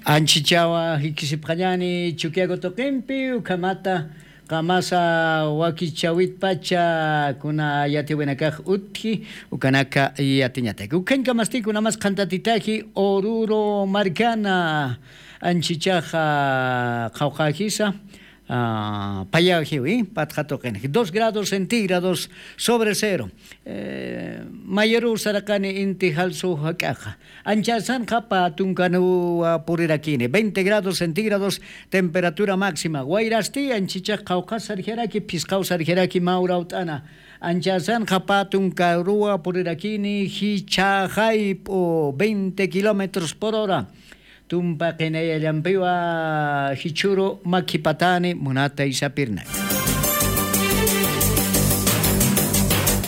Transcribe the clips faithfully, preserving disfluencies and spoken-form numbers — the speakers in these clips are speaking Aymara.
Anchichawa jikisipxañani Chukiyaku tuqimpi, ukhamata qamasa wakichawitpacha kuna yatiwinakax utji, ukanaka yatiñataki. Ukhañkamasti kunamas qhantatitaji Oruro markana, anchichaxa qhawqajisa, ah, payajiwi, patxa tuqinji, dos grados centígrados sobre cero. Eh, mayaru saraqani inti jalsu jak'aqa. Anchasanxa pä tunkaruwa purirakini, veinte grados centígrados temperatura máxima. Wayrasti anchichax qhawqas sarjaraki, phisqaw sarjaraki mä urawt'ana. Anchasanxa pä tunkaruwa purirakini, jichha jayp'u, veinte kilómetros por hora. Tumpa qinayallampiwa jichhüru makhipatani munatay sapirnaka.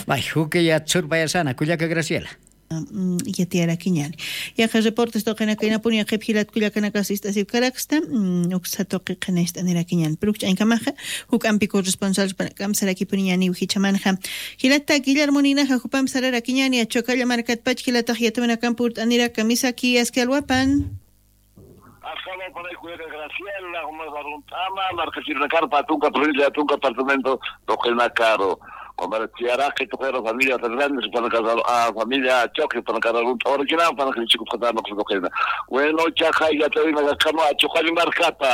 May, juk'ay yatsurpayasana, kullaka Graciela. Mm, yatiyarakiñani. Yaqha reportes tuqinakaynapuni yaqhip jilat kullakanakas ist'asipkaraksta, mm, uksa tuqi qhinañcht'anirakiñani. Pero ukch'añkamaxa, juk'ampi corresponsal jupanakam sarakipuniñaniw jichhamanxa. Jilata Guillermo ninaxa jupamp sararakiñani, Achokalla markatpach jilatax yatiwinakam purt'aniraka, misaki aski alwapan. Aski alwapan, kullaka Graciela, jumas arunt'ama, markachirinakar pä tunka provincia, tunka departamento tuqinakaru. Qumara tiyaraki tuqira familia Fernández, jupanakar, ah, familia Choque, jupanakar arunt'awarakina, jupanakar ichikutxatar nuqsa tuqina. Bueno, chaqa yatiyawinakakama Achuqalli markata.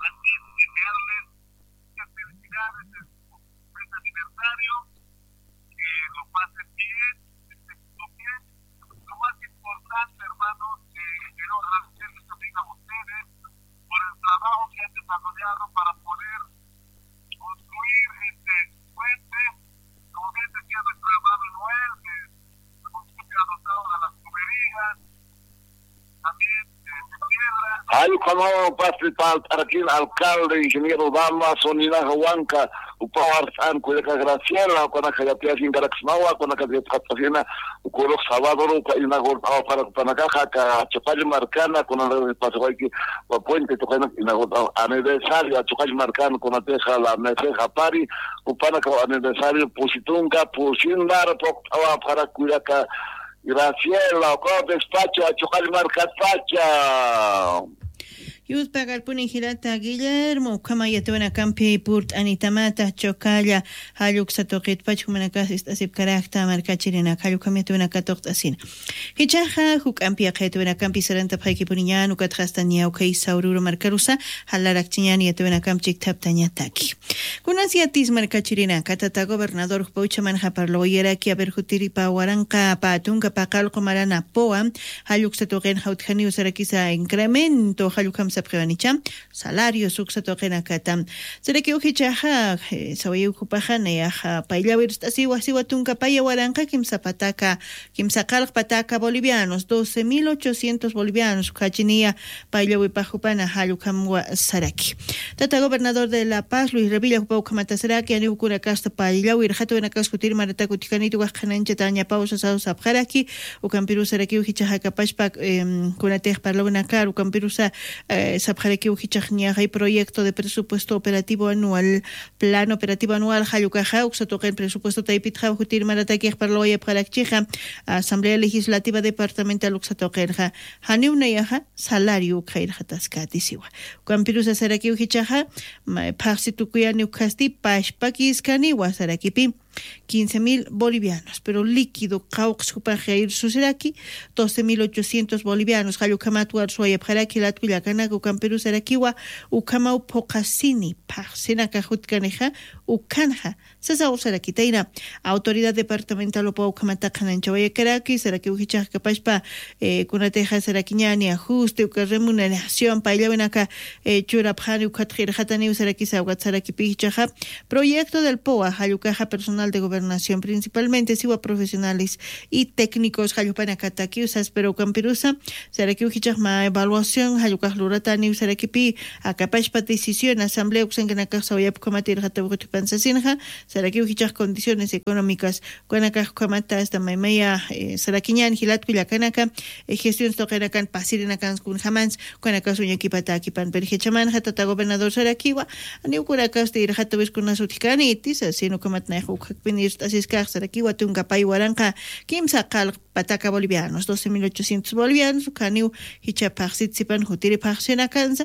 Así es, que te hablen, muchas felicidades en su mes aniversario, que lo pasen bien, que estén todo bien. Lo más importante, hermanos, eh, quiero agradecerles también a ustedes por el trabajo que han desarrollado para poder construir este puente. Como bien decía nuestro hermano Noel, que el municipio ha dotado de las tuberías, también, eh, de piedra. Jall ukhamaw pasipalt'arakin alcalde, ingeniero Dama, soninaxa wanka, upaw arst'an kullaka Graciela, ukanaka yatiyasinkarakismawa, ukanaka yatxat'asina, ukurux sabador uka inaugurt'awa para ukanakaxa, aka Achuqalli markana, kunanaka pasawayki, uka puente tuqinaka inaugurt'awa, aniversario, Achuqalli markana, kunatixa la meceja pari, upanaka aniversario, pusi tunka, pusin mara puqt'awa, para kullaka, Graciela, uka despacho, Achuqalli markatpacha. Yuspagarpuni jilata Guillermo, ukhama yatiwinakampi purt'anitamata, Achokalla, jall uksa tuqitpach jumanakas ist'asipkarakta markachirinaka, jall ukham yatiwinaka tuqt'asina. Jichhaxa, juk'ampi yaqha yatiwinakampi sarantapxaykipuniñan, ukatxa asta niya ukhay Oruro markarusa, jalarakchiñan yatiwinakamp chikthaptañataki. Kunas yatis markachirinaka, tata gobernador jupa uchamanxa parlawayaraki, a ver, jutiripa waranqa pä tunka paqallqu marana poa, jall uksa tuqinxa utjaniw sarakisa incremento, jall ukham sapxiwanicha, salarios uksa tuqinakata. Sarakiw jichhaxa, eh, sawayiw jupaxa, nayaxa, payllawirst'asiwa siwa tunka paya waranqa kimsa pataka, kimsa qallq pataka bolivianos, doce mil ochocientos bolivianos, ukhachiniya, payllawipax jupana jall ukhamwa saraki. Tata gobernador de La Paz, Luis Revilla, jupa ukhamata saraki, janiw ukunakasta payllawir, jatawinakas jutir maratak utjanitu, waj qhanañchatañapaw sasaw sapxaraki, ukampirus sarakiw jichhaxa kapachpa, em, kunatix parlawinakar, ukampirusa, eh, sapxarakiw jichhax niyaxay proyecto de presupuesto operativo anual, plan operativo anual, jall ukaxa, uksa tuqin presupuesto taypitxa, jutir maratakix parlawayapxarakchixa, Asamblea Legislativa Departamental uksa tuqinxa, janiw nayaxa, salario ukxayrxataskati siwa. Ukampirusa sarakiw jichhaxa, ma-, phaxsi tukuyani ukasti, pachpakiskaniwa sarakipi, quince mil bolivianos, pero líquido qawqs jupax jayr susiraki, doce mil ochocientos bolivianos, jall ukhamat warsuwayapxaraki, jilat kullakanaka, ukampirus sarakiwa, ukhamaw phuqasini, phaxsinaka jutkanixa, ukhanxa, sasaw sarakitayna, autoridad departamental upa ukhamata qhanañchawayakaraki, sarakiw jichhax kapachpa, eh, kunatixa sarakiñani ajuste, uka remuneración, payllawinaka, eh, churapxani, ukhat qillqataniw sarakisa, ukat sarakipi jichhaxa, proyecto del poa, jall ukaxa personal de gobernación, principalmente siwa profesionales y técnicos, jall jupanakatakiw sas, pero ukampirusa, sarakiw jichhax mä evaluación, jall ukax lurataniw sarakipi, akapachpa decisión, asamblea uksankanakax sawayap ukhamat irxataw sasinxa, sarakiw jichhax condiciones económicas ukanakax ukhamata asta maymaya sarakiñan jilatku llakanaka, gestions tuqinakan pasirinakan kunjamans ukanakax uñakipatäkipan. Pero jichhamanxa tata gobernador sarakiwa, janiw ukanakax irxatawis kunas utjkäniti sasin ukhamat nayax ukjakpin irt'asiskax sarakiwa tunka pay waranqa kimsa qallq pataka bolivianos doce mil ochocientos bolivianos ukhaniw jichha phaxsitsipan jutiri phaxsinakansa.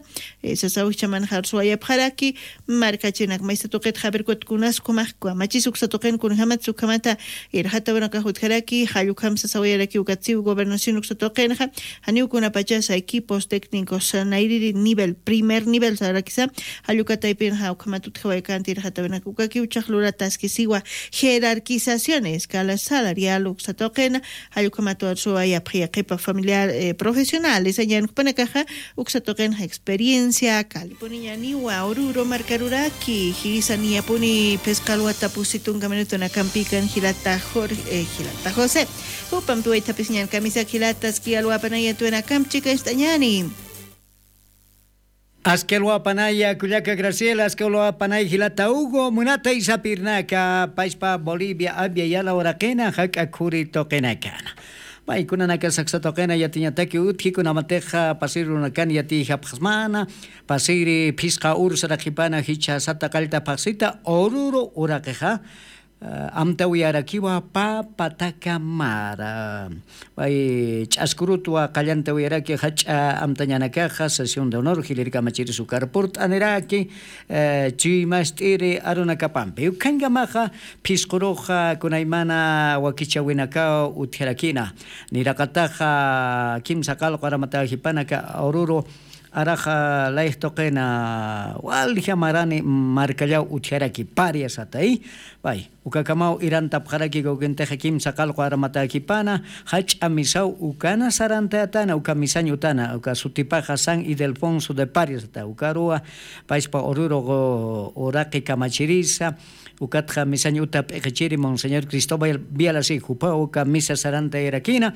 Sasaw jichhamanxa arsuwayapxaraki markachinak maysa tuqit javer kutkunas kumax kamachis uksa tuqin kunjamat sukhamata irxata ukanakax utjaraki jallukhamsa sawayaraki ukatsiw gobernación uksa tuqinxa, janiw kunapachasa equipos técnicos nayriri nivel primer nivel sarakisa jallukataypinxa ukhamat utjawayakanti irxata ukanaka ukakiw chaxlurataskisiwa jerarquizaciones kala salarial uksa tuqina. Jallukhamatuwar suwa yapxi yaqipa familiar profesionales añankupanakaxa uksa tuqinxa experiencia kalipuniñaniwa ururu markaruraki jisaniyapuni phisqalwata pusi tunka minutunakampikan jilata jorge jilata josé. Jupampi waythapisiñan kamisak jilataski alwapanayatuwinakamp chikañst'añani. Aski alwapanaya kullaka graciela aski alwapanay jilata hugo munatay sapirnaka payspa bolivia abya yala uraqina jak'a khuri tuqinakana. Paykunanaka saksa tuqina yatiñataki utji kunamatixa pasiri runakan yatiyjapxsmana. Pasiri phisqa ur saraqipana jichha sata qallta phaxsita ururu uraqixa amtawiyarakiwa pä pataka mara. Pay ch'askurutwa qallantawiyaraki jach'a amtañanakaxa sesión de honor jilirkamachiris ukar purt'aniraki. Chuymast'iri arunakapampi ukhankamaxa phisquruxa kunaymana wakichawinakaw utjarakina. Niraqataxa kimsa qalqu aramatajipanaka ururu araxa layx tuqina walja marani markallaw utjaraki pariasatay. Pay ukakamaw irantapxaraki gawkintixa kimsa qalqu armatäkipana jach'a misaw ukana sarantayatana uka misañ utana uka sutipaxa san ildefonso de pariasata ukaruwa payspa ururu uraqi kamachirisa. Ukatxa misañ uta p'iqichiri monseñor cristóbal vialasi jupaw uka misa sarantayarakina.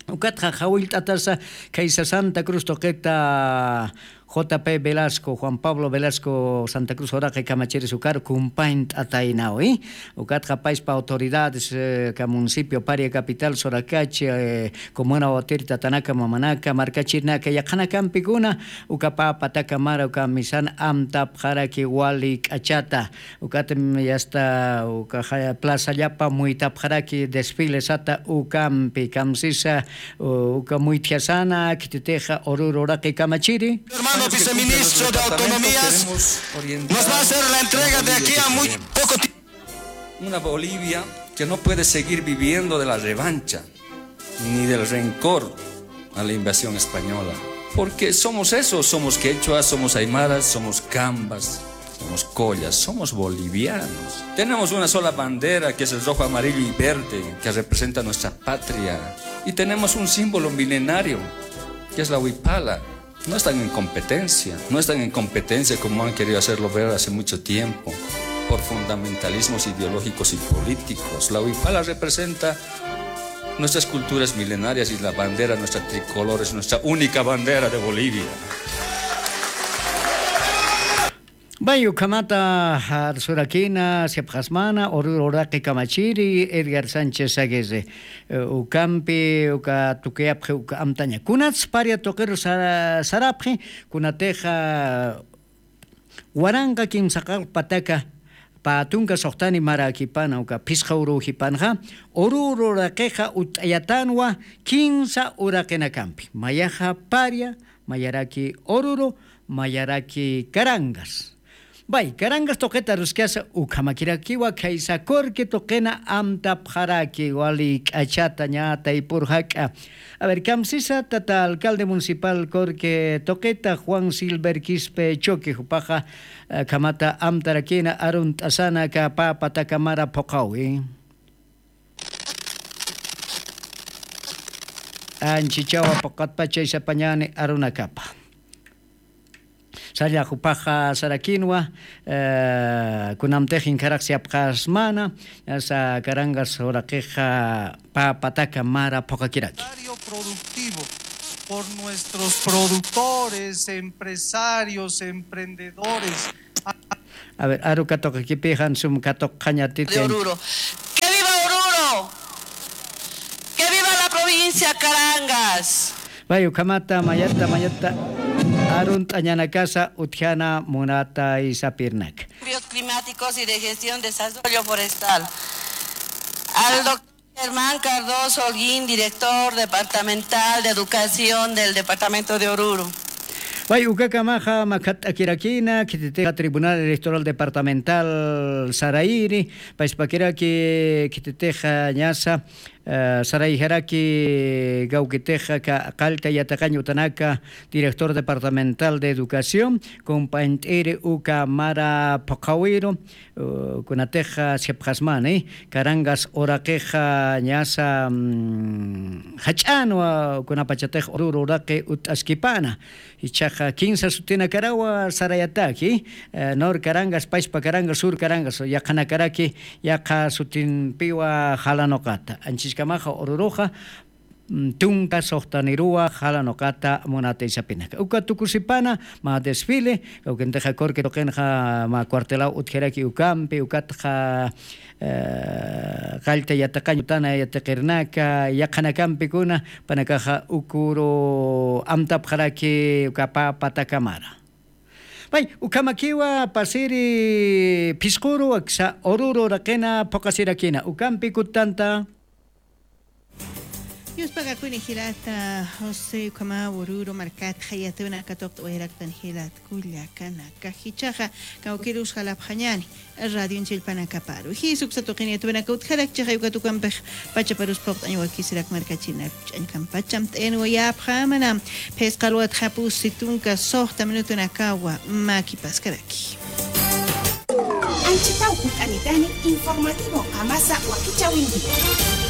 Ukatxa jawillt'atasa khaysa santa cruz tuqita jp velasco juan pablo velasco santa cruz uraqi kamachiris ukar kumpañt'ataynawi. Ukatxa payspa autoridades ka municipio paria capital surakachi comuna watir tatanaka mamanaka markachirinaka yaqhanakampikuna uka pä pataka mara uka misan amtapxaraki wali k'achata. Ukatam yasta uka plazallapa muytapxaraki desfilesata ukampi kamsisa uka muytjasana khititixa ururu uraqi kamachiri. Hermano viceministro de autonomías nos va a hacer la entrega de aquí a muy poco tiempo. Una Bolivia que no puede seguir viviendo de la revancha ni del rencor a la invasión española. Porque somos eso, somos quechua, somos aymara, somos cambas, somos collas, somos bolivianos. Tenemos una sola bandera que es el rojo, amarillo y verde que representa nuestra patria. Y tenemos un símbolo milenario que es la huipala. No están en competencia, no están en competencia como han querido hacerlo ver hace mucho tiempo, por fundamentalismos ideológicos y políticos. La huipala representa nuestras culturas milenarias y la bandera, nuestra tricolor, es nuestra única bandera de Bolivia. Bay ukhamata arsurakina sipxasmana ururu uraqi kamachiri edgar sánchez aguirre. Ukampi uka tukuyapxi uka amtaña kunats paria tuqiru sarapxi kunatixa waranqa kimsa qallq pataka pä tunka suxtani maräkipana uka phisqa uruw jipanxa ururu uraqixa utt'ayatanwa kinsa uraqinakampi mayaxa paria mayaraki ururu mayaraki carangas. Bay carangas tuqita aruskasa ukhamakirakiwa khaysa corque tuqina amtapxaraki wali k'achata ñä taypur jak'a. A ver kamsisa tata alcalde municipal corque tuqita juan silver quispe choque jupaxa akhamata amtarakina arunt'asana aka pä pataka mara phuqhawi. Anchichawa phuqhatpach chaysapañäni arunakapa salla jupaxa sarakinwa. Kunamtix inkharax siyapxasmana asa carangas uraqixa pä pataka mara phuqhakiraki. Productivo por nuestros productores, empresarios, emprendedores. A ver, aru katuqakipi jan sum katuqañatiti. De Oruro. ¡Que viva Oruro! ¡Que viva la provincia Carangas! May ukhamata mayata mayata arunt'añanakasa utjana munata isapirnak. Cambios climáticos y de gestión de desarrollo forestal. Al doctor Germán Cardoso Holguín, director departamental de educación del departamento de Oruro. Way ukakamaxa makhat'akirakina khititixa Tribunal Electoral Departamental sarayiri, payspakiraki khititixa ñasa, eh, sarayjaraki kawkitixa ka qallta yatiqañ utanaka, director departamental de educación, compañt'iri uka mara phuqhawiru, uh, kunatixa sipxasmani, Carangas uraqixa ñasa, mm, jach'anwa kunapachatix Oruro uraqi utt'askipana. Ichaxa kinsa sutinakarawa sarayataki, eh, Nor Carangas, Pachpa Carangas, Sur Carangas, yaqhanakaraki, yaqha sutinpiwa jalanuqata. Anchiskamaxa Oruruxa, mm, tunka suxtaniruwa jalanuqata munata isapinaka. Uka tukusipana, mä desfile, kawkintixa Corque tuqinxa mä cuartelaw utjaraki ukampi, ukatxa, eh, qallta yatiqañ utana yatiqirnaka, yaqhanakampikuna, panakaxa ukuru amtapxaraki uka pä patakamara. Pay, ukhamakiwa pasiri phisquru, aksa Oruro uraqina phuqasirakina, ukampi kuttanta. Yuspagakuni jilata, José, ukhama Oruro markatxa yatuna katuqt'awayaraktan jilat kullakanaka, jichhaxa kawkirus jalapxañani. Radionchillpanakaparu. Jisuksa tuqini yatwanaka utjarakchixay uka tukampix pachaparus phuqt'añ wakisirak markachinak ch'añkampacham t'inwayapxamana. Phisqa luwatxa pusi tunka suxta minutunakawa makipaskaraki. Anchitaw ukanitani informativo qamasa wakichawinki.